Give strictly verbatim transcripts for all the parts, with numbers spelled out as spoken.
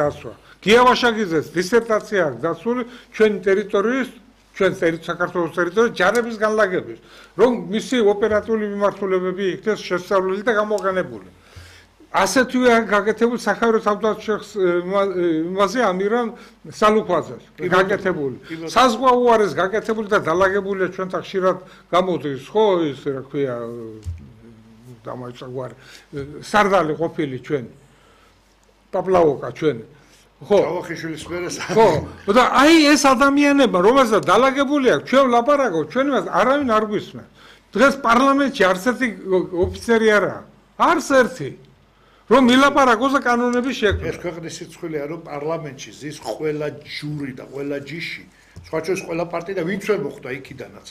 დასვა. გია ვაშაკიძეს დისერტაცია აქვს დასული ჩვენი ტერიტორიის, ჩვენ საქართველოს ტერიტორიის ჯარების განლაგების, რომ მისი ოპერატიული მიმართულებები იქნეს შესწავლილი და გამოყენებული. ასეთვე გაკეთებული საქართველოს თავდაცვის იმაზე ამირან სალუქვაძეს გაკეთებული. საზღვა უარეს გაკეთებული და დალაგებულია ჩვენთან ხშირად გამოდის, ხო, ის რა ქვია, დამაიწყარ სარდალი ყოფილი ჩვენი. პაპლაოკა ჩვენი. ხო, ჯავახიშვილის მერეს. ხო, და აი ეს ადამიანები, რომელსაც დალაგებული აქვს, ჩვენ ვლაპარაკობთ, ჩვენ მას არავინ არ გვისმენს. დღეს პარლამენტში არც ერთი ოფიცერი არაა. არც ერთი. რომ მილაპარაკოს და კანონები შექმნას. ეს ქვეყნის სიცხვილეა, რომ პარლამენტში ზის ყველა ჯური და ყველა ჯიში, სხვა ჩვენს ყველა პარტია და ვინც ვერ მოხვდა იქიდანაც.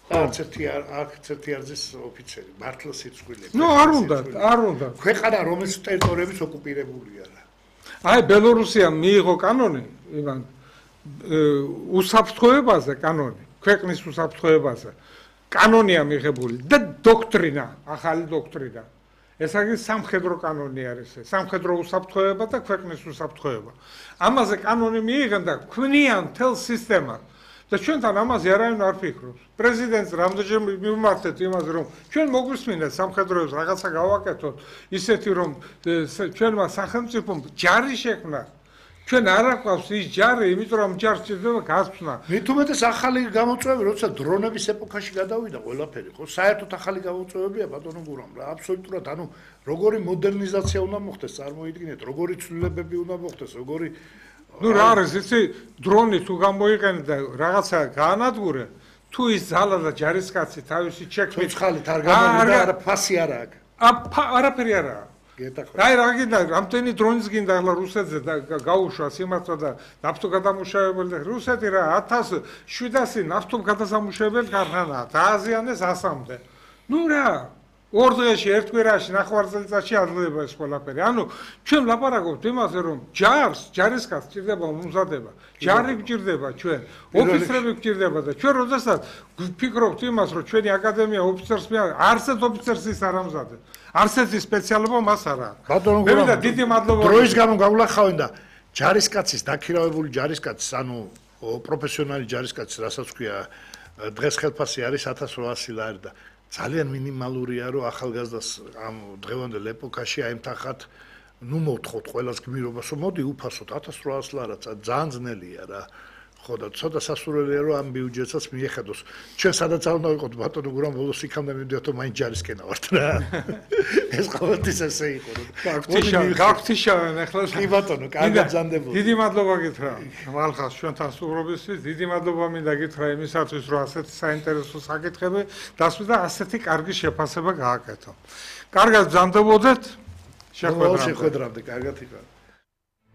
და არც ერთი არც ერთი არ ზის ოფიცერი, მართლა სიცხვილეა. ნუ არ უნდა, არ უნდა. ქვეყანა რომელიც ტერიტორიების ოკუპირებულია რა. აი ბელორუსიამ მიიღო კანონი, იმან უსაფრთხოებაზე კანონი, ქვეყნის უსაფრთხოებაზე. კანონია მიღებული და დოქტრინა, ახალი დოქტრინა. ეს არის სამხედრო კანონი არის ეს, სამხედრო უსაფრთხოება და ქვეყნის უსაფრთხოება. ამაზე კანონი მიიღენ და ქმნიან მთელ სისტემას. და ჩვენთან ამაზე არავინ არ ფიქრობს. პრეზიდენტს რამდენჯერმე მივმართეთ იმაზე, რომ ჩვენ მოგვისმინეთ სამხედროებს რაღაცა გავაკეთოთ, ისეთი რომ ჩვენმა სახელმწიფომ ჯარი შექმნა. ჩვენ არ აყვავს ის ჯარი, იმიტომ რომ ჯარს სჭირდება გასვლა. მით უმეტეს ახალი გამოწვევები, როცა დრონების ეპოქაში გადავიდა ყველაფერი, ხო, საერთოდ ახალი გამოწვევებია ბატონო გურამ რა, აბსოლუტურად, ანუ როგორი მოდერნიზაცია უნდა მოხდეს, წარმოიდგინეთ, როგორი ცვლილებები უნდა მოხდეს, როგორი ნუ რა არის, იცი, დრონი თუ გამოიყენე და რაღაცა გაანადგურე, თუ ის ძალა და ჯარისკაცი თავისი ჩექმით ცოცხალით არ გამოვიდა, არა ფასი არ აქვს. არაფერი არაა. აი რა გინდა, რამდენი დრონის გინდა ახლა რუსეთზე და გაუშვას იმართვა და ნავთო გადამუშავებელი და რუსეთი რა ათას შვიდასი ნავთო გადასამუშავებელი ქარხანაა, დააზიანეს ასამდე. ნუ რა ორ დღეში, ერთ კვირაში, ნახევარწელიწადში აძლევება ეს ყველაფერი. ანუ ჩვენ ვლაპარაკობთ იმაზე, რომ ჯარს, ჯარისკაცს სჭირდება მომზადება. ჯარი გვჭირდება ჩვენ, ოფიცრები გვჭირდება და ჩვენ როდესაც ვფიქრობთ იმას, რომ ჩვენი აკადემია ოფიცერს მე არც ერთ ოფიცერს ის არ ამზადებს. არც ერთი სპეციალობა მას არ აქვს. ბატონო გურამ, დიდი მადლობა. დროის გამო გავლახავენ და ჯარისკაცის, დაქირავებული ჯარისკაცის, ანუ პროფესიონალი ჯარისკაცის, რასაც ქვია, დღეს ხელფასი არის ათას რვაასი ლარი და ძალიან მინიმალურია, რომ ახალგაზრდას ამ დღევანდელ ეპოქაში აემთახათ, ნუ მოვთხოვთ ყველას გმირობას, რომ მოდი უფასოდ ათას რვაასი ლარად, ძალიან ძნელია რა. ხო და ცოტა სასურველია, რომ ამ ბიუჯეტსაც მიეხედოს. ჩვენ სადაც არ უნდა ვიყოთ ბატონო გურამ, ბოლოს იქამდე მივდიოთ, რომ მაინც ჯარისკენა ვართ რა. ეს ყოველთვის ესე იყო. გაგთიშავენ ახლა. კი ბატონო, კარგად ბრძანდებული. დიდი მადლობა გითხრა. მალხას ჩვენთან სტუმრობისთვის, დიდი მადლობა მინდა გითხრა იმისათვის, რომ ასეთი საინტერესო საკითხები დასვა და ასეთი კარგი შეფასება გააკეთო. კარგად ბრძანდებოდეთ. შეხვედრამდე, კარგად იყავით.